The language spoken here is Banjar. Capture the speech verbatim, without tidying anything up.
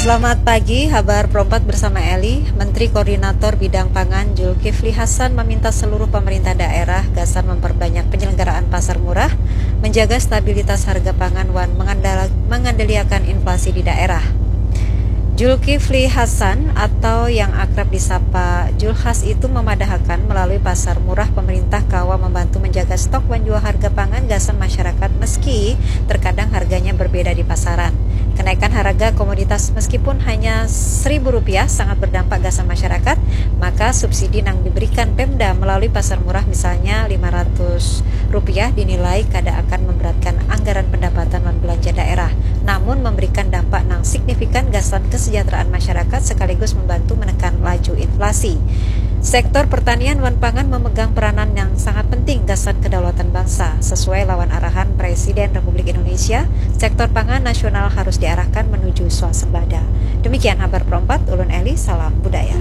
Selamat pagi, Habar Perempat bersama Eli. Menteri Koordinator Bidang Pangan Zulkifli Hasan meminta seluruh pemerintah daerah gasan memperbanyak penyelenggaraan pasar murah, menjaga stabilitas harga pangan wan mengandala- mengandaliakan inflasi di daerah. Zulkifli Hasan atau yang akrab disapa Julhas itu memadahakan melalui pasar murah pemerintah kawa membantu menjaga stok wan jua harga pangan gasan masyarakat meski terkadang harganya berbeda di pasaran. Kenaikan harga komoditas meskipun hanya seribu rupiah sangat berdampak gasan masyarakat, maka subsidi nang diberikan Pemda melalui pasar murah misalnya lima ratus rupiah dinilai kada akan memberatkan anggaran pendapatan wan belanja daerah, namun memberikan dampak nang signifikan gasan kesejahteraan masyarakat sekaligus membantu menekan laju inflasi. Sektor pertanian wan pangan memegang peranan yang sangat penting gasan kedaulatan bangsa. Sesuai lawan arahan Presiden Republik Indonesia, sektor pangan nasional harus diarahkan menuju swasembada. Demikian Habar Perempat, ulun Eli, salam budaya.